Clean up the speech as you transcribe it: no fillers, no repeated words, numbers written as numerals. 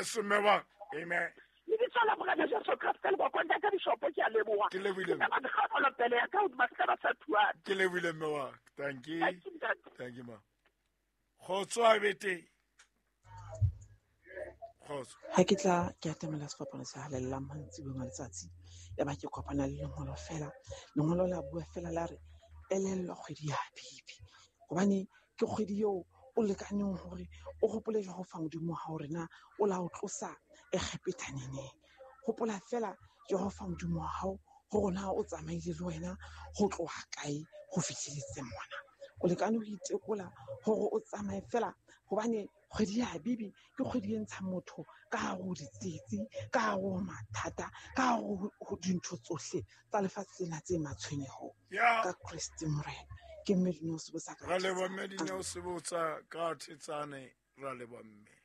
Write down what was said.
Ngwaneso mme wa amen. Lebitso la Morena Jesu Kriste le bokwe ntate Bishopo ke a leboha. Ke lebohile. Ke ba pele ya ka hodima setjhaba sa Thuane. Ke lebohile mme wa. Thank you. Thank you, ntate. Thank you ma. Kgotso a bete. Kgotso. Ha ke tla ke atamela sefapano se halalelang mantsiboeng a letsatsi ya ba ke kopana le lengolo fela lengolo la bua fela la re elellwa kgwedi ya Habibi hobane ke kgwedi eo o lekaneng hore o hopole Jehova Modimo wa hao hore na o la o tlosa Egepeta neneng. Hopola fela Jehova Modimo wa hao hore na o tsamaile le wena ho tloha kae ho fihleletse mona. O lekane ho itekola hore o tsamaye fela hobane kgwedi ya Habibi ke kgwedi e ntshang motho ka hare ho ditsietsi, ka hare ho mathata, ka hare ho dintho tsohle tsa lefatshe lena tse matshwenyeho. Ka Kreste Morena. Ke mme Dineo Sebotsa ka Ra leboha mme Dineo Sebotsa ka Thetsane, ra leboha mme.